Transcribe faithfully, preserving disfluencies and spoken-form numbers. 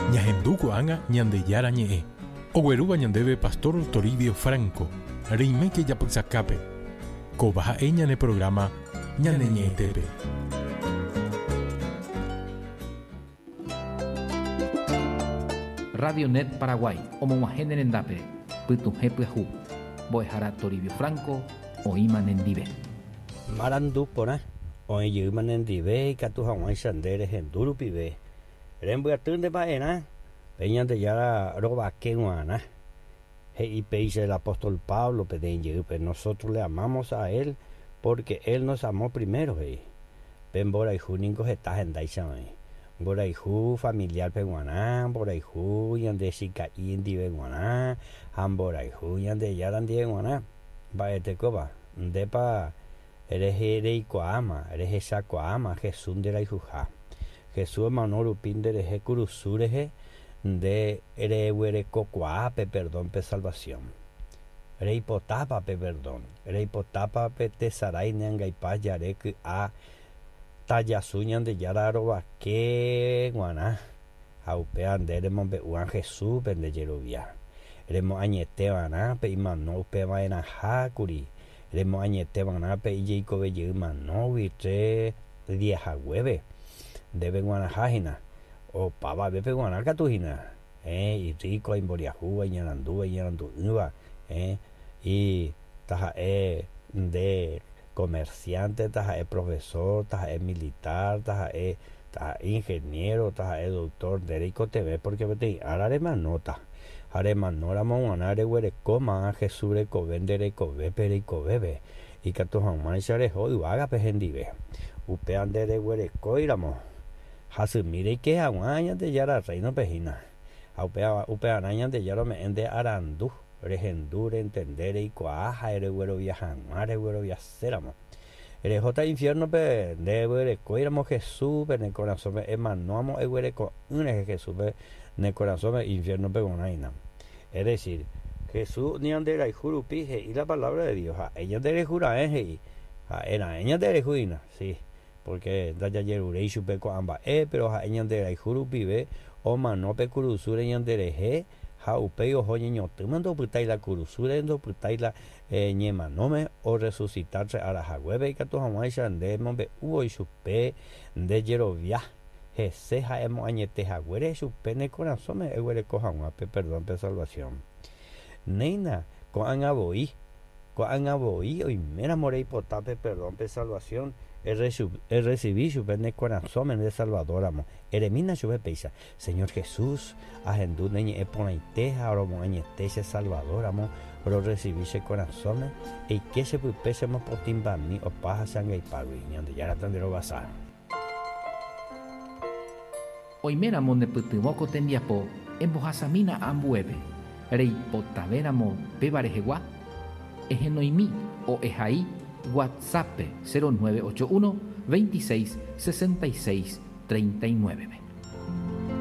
Ñahendu ko'ág̃a Ñandejára ñe'ẽ. Oguerúva ñandéve Pastor Toribio Franco. Reiméke japysakápe. Kóva ha'e ñane programa Ñane Ñe'ẽtépe. Radio Net Paraguay, omog̃uahẽ rendápe, pytuhẽ pyahu. Mbo'ehára Toribio Franco, oĩma nendive. Marandu porã, oĩ jeýma nendive ikatu hag̃uáicha nde rehendu rupive. Rembyaty ndepa'erã, pe Ñandejára rovake g̃uarã. He'i péicha el apóstol Pablo peteĩ jeýpe, nosotros le amamos a él porque él nos amó primero, he'i. Pe mborayhu niko heta hendáicha oĩ. Mborayhu familiar-pe g̃uarã, mborayhu ñande chika'i ndive g̃uarã, ha mborayhu Ñandejára ndive g̃uarã. Mba'etekópa, ndépa rehe reikuaáma, rehechakuaáma Jesús nderayhuha. Jesús omano rupi nderehe kurusu rehe, nde reguerekokuaa pe perdón pe salvación. Reipotápa pe perdón, reipotápa pe tesarái neangaipa jare ky'a tajasu Ñandejára rovake g̃uarã. Ha upéva nde remombe'úva Jesúspe nde jerovia. Remoañeteva'erã pe imano upeva'erãha kuri. Remoañeteva'erã pe ijeikove manógui tres días haguépe. Ndéve g̃uarãha hína. Opavavépe g̃uarã katu hína. Eh, irríko, imboriahúva, iñarandúva, iñarandu'ỹva. Eh, y taha'e nde comerciante, taha'e profesor, taha'e militar, taha'e taha'e ingeniero, taha'e doctor, nde reikotevẽ porque peteĩ ára remanóta. Ha remanóramo g̃uarã reguerekóma Jesús rekove nde rekovépe reikovépe. Ikatu hag̃uáicha reho yvágape hendive. Upéva nde reguerekóiramo. Hasymi reike hag̃ua Ñandejára reino-pe hína. Ha upéva upevarã Ñandejára ome'ẽ nde arandu, rehendu, rentende, reikuaa ha reguerovia hag̃ua regueroviaséramo. Rehóta infierno-pe nde reguerekóiramo Jesúspe ne korasõme emanóamo eguereko'ỹre Jesúspe ne korasõme infierno-pe g̃uarãina. Es decir, Jesús ñanderayhu rupi he'i la palabra de Dios. Ha'e ñanderayhura'e he'i. Ha'era'e ñanderayhúina, sí. Porque ndajajeruréi chupe ko'ã mba'e, pero ha'e ñanderayhu rupive omano pe kurusúre ñanderehe ha upéi oho ñeñotýma ndopytái la kurusúre, ndopytái la eh, ñemanóme orresucitar ára haguépe ikatu hag̃uáicha nde mombe'úvo chupe nde jerovia hese ha'e moañete haguére chupe ne korasõme eguereko hag̃ua pe perdón pe salvación. Néina ko'ág̃a voi, ko'ág̃a voi oiméramo reipota pe perdón pe salvación errecibí chupe ne korasõme nde Salvadoramo. Eremína chupe péicha. Señor Jesús, ahendu ne ñe'ẽ porãite ha romoañete che Salvadoramo, rorecibí che korasõme, eike chepype chemopotĩmbami opa ha che angaipágui. Ñandejára tanderovasa. Oiméramo nepytyvõ ko tembiapo embohasamína ambuépe. Reipotavéramo péva rehegua, ehenoimi o ehai WhatsApp cero nueve ocho uno veintiséis sesenta y seis treinta y nueve.